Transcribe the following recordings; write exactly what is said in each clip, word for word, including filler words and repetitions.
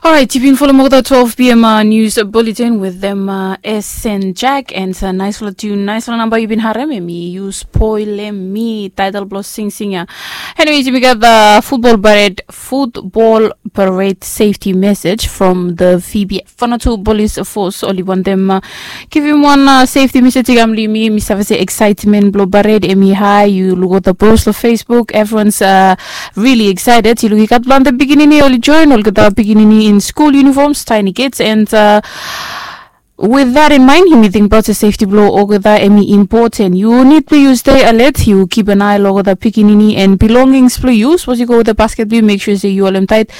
Orait, yu bin folem olgeta twelve p m nius bulletin wetem Sen Jack, and naisfala tiun, naisfala namba yu bin harem, em i Yu Spoilem Mi, taetol blong singsing ya. Anyways, yumi gat futbol pared, futbol pared safety message from the Phoebe Vanuatu Police Force. Oli wantem givim wan safety message i kam long yumi. Mi save se excitement blong pared em i hae. Yu luk olgeta post long Facebook, everyone's really excited. Yu luk i gat plante pikinini oli join, olgeta pikinini in school uniforms, tiny kids, and with that in mind, yumi tingbaot se safety blong olgeta em i impoten. Yu nid blong yu stay alert, yu keep an eye long olgeta pikinini and belongings blong yu. Sapos yu go wetem basket blong yu, make sure se yu holem taet.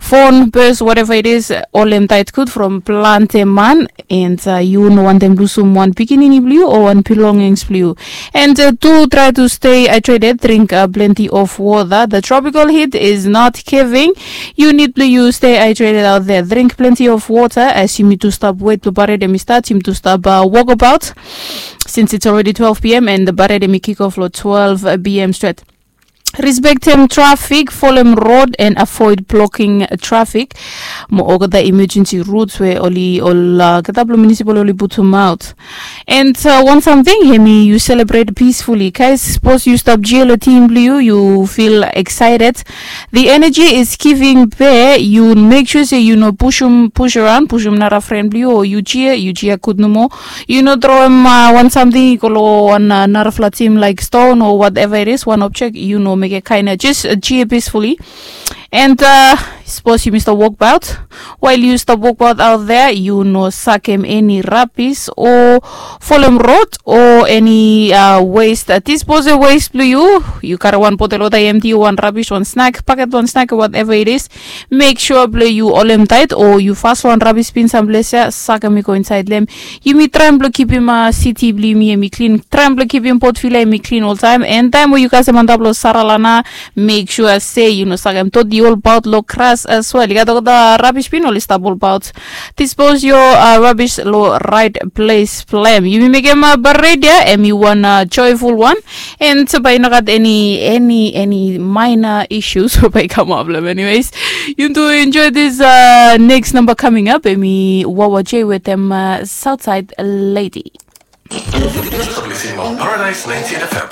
Phone, purse, whatever it is, holem taet gud from plante man, and yu no wantem lusum wan pikinini blong yu o wan belongings blong yu. And tu, try to stay hydrated, drink plenty of water. The tropical heat is not giving. Yu nid blong yu stay hydrated out there. Drink plenty of water as yumi tu stap wet blong pared em i stat, yumi tu stap wokabaot, since it's already twelve p m and the pared em i kick off long twelve p m stret. Respektem trafik, folem rod and avoid blocking trafik. Mo olgeta emergency routes we oli, olgeta blong municipal oli putumaot. And wan samting hemi, yu celebrate peacefully. Guys, sapos yu stap jia long tim blong yu, yu feel excited. The energy is giving, be yu make sure se yu no pusum, push around, pusum nara fren blong yu, o yu jia, yu jia gud nomo. Yu no troem wan samting i go long wan narafala tim, like stone o whatever it is, wan objek, yu no mekem kaen ya. Jes jia peacefully. And sapos yumi stap wokbaot, wael yu stap wokbaot out there, yu no sakem eni rabis o folem rod o eni waste, dispose waste blong yu. Yu karem wan botel wota i emti, wan rabis, wan snak, paket, wan snak, whatever it is. Make sure blong yu holem taet o yu fas long wan rabis bin samples ya, sakem i go insaed long hem. Yumi traem blong kipim siti blong yumi em i klin, traem blong kipim Port Vila em i klin oltaem. And taem we yu kasem antap long saralana, make sure se yu no sakem doti olbaot long gras as well. I gat olgeta rabis bin oli stap olbaot. Dispose your rabis long raet ples blong hem. Yumi mekem pared ya em i wan joyful wan. And bae i no gat eni, eni, eni minor issues we bae i kamap long hem. Anyways, yu tu enjoy this next number coming up, em i Wawa J wetem Southside Lady. Paradise ninety-eight F M.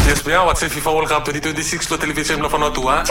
Yes, we are watching FIFA World Cup twenty twenty-six lo television lo Vanuatu, ah.